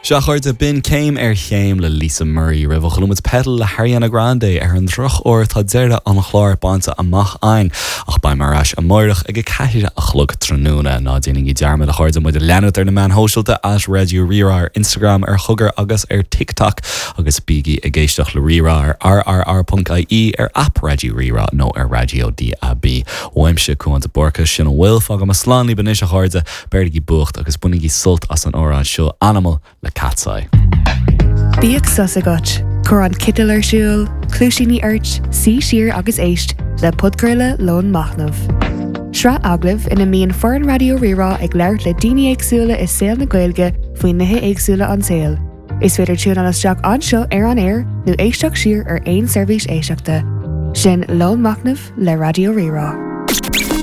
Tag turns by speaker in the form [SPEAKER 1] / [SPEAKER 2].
[SPEAKER 1] Sea a chairde, b'in Céim ar Chéim le Lisa Murray. Roimhe chuala muid Petal le hAriana Grande. Ar an drochuair tá deireadh an chláir bainte amach againn, ach beidh mé ar ais amáireach ag 4 a chlog tráthnóna. Ná déanaigí dearmad, a chairde, muid a leanúint ar na meáin shóisialta, at Raidió Rí-Rá ar Instagram, ar Chogar agus ar TikTok, agus bígí ag éisteacht le Rí-Rá ar rrr.ie, ar aip Raidió Rí-Rá nó ar Raidió DAB. Uaimse, Cuán de Búrca, sin a bhfuil. Fágfaidh mé slán libh anois, a chairde. Beirigí buacht agus bainigí sult as an amhrán seo, Animal le Katseye.
[SPEAKER 2] Bíodh sos agat, cuir an citeal ar siúl, cluaisíní ort, suigh siar agus éist le podchraoladh Lón Machnaimh. Sraith agallamh ina mbíonn foireann Raidió Rí-Rá ag labhairt le daoine éagsúla i saol na Gaeilge faoi nithe éagsúla an tsaoil. Is féidir tiúnáil isteach anseo ar an aer nó éisteacht siar ar aon seirbhís éisteachta. Sin Lón Machnaimh le Raidió Rí-Rá.